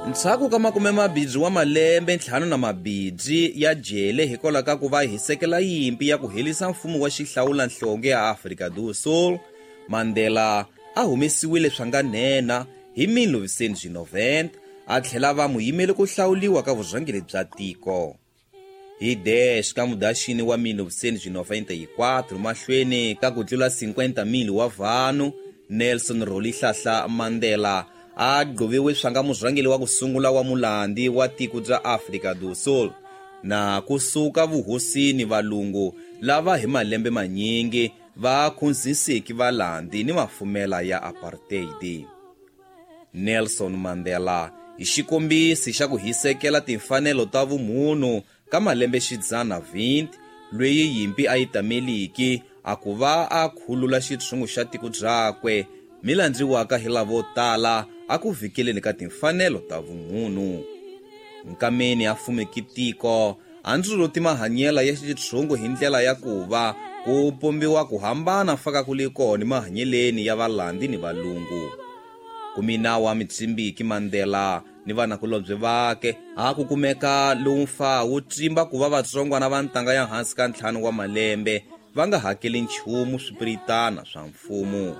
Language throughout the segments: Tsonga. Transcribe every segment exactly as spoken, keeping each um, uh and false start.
Ndzhaku ka makume mabidzi wa malembe ntlhanu na mabidzi ya jele hikwalaho ka ku va hisekela yimpi ya ku helisa mfumo wa xihlawulanhlonge ya Afrika do Sul, Mandela a humesiwile swanganhena hi mille novecentos e noventa a tlhela va muyimeli ku hlawuliwa ka vurhangeri bya tiko. Hi dez ka Mudaxini wa mille novecentos e noventa e quatro mahlweni ka ku tlula cinquenta mil wa vanhu, Nelson Rolihlahla Mandela a gqoviwe swanga murhangeri wa ku sungula wa mulandi wa tiko bya Afrika do Sul na kusuka vuhosini valungu lava hi malembe manyingi va khunzisiki valandi ni mafumela ya apartheid. Nelson Mandela hi xikombisi xa ku hisekela timfanelo ta vumunhu ka malembe xidzana vinte lweyi yimpi a yi tameliki a ku va a khulula xitshungu xa tiko byakwe milandziwaka hi lavo tala a ku vhikeleni ka timfanelo ta vumunhu. Nkameni a fumeki tiko a ndzuluti mahanyela ya xitshungu hi ndlela ya ku va ku pombiwa ku hambana faka ku li kona mahanyeleni ya valandi ni valungu. Kumina wa mitsimbiki Mandela ni vanakulobye vake a ku kumeka lowu mfa wu tsimba ku va vatsongwana va ntanga ya hansi ka ntlhanu wa malembe va nga hakeli nchumu swipiritana swa mfumo.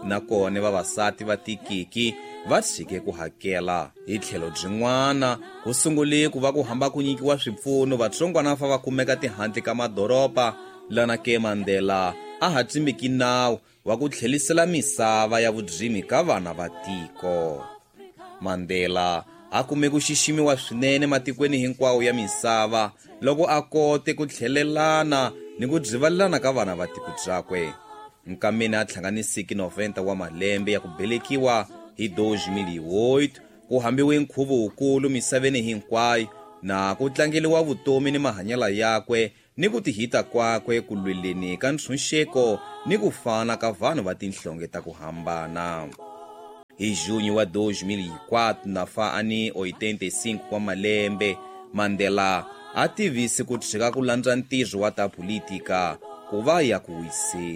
Nakona vavasati va tikiki va tshike ku hakela. Hi tlhelo byin'wana ku sungule ku va ku hamba ku nyikiwa swipfuno vatsongwana fa va kumeka tihandle ka madoroba lana ke Mandela a ha tsimbiki nawu wa ku tlhelisela misava ya vudzimi ka vana va tiko. Mandela a kume ku xiximiwa swinene matikweni hinkwawo ya misava loko a kote ku tlhelelana ni ku byivalelana ka vana va tiko byakwe. Nkameni a hlanganisiki noventa wa malembe ya ku belekiwa hi dois mil e oito ku hambiwe nkhuvo wukulu misaveni hinkwayo na ku tlangeliwa vutomi ni mahanyelo yakwe ni ku tihita kwakwe ku lweleni ka ntshunxeko ni ku fana ka vanhu va tinhlonge ta ku hambana. Hi junho wa dois mil e quatro na fa ani oitenta e cinco wa malembe Mandela a tivise ku tshika ku landza ntirho wa ta politika ku va ya ku wiseni.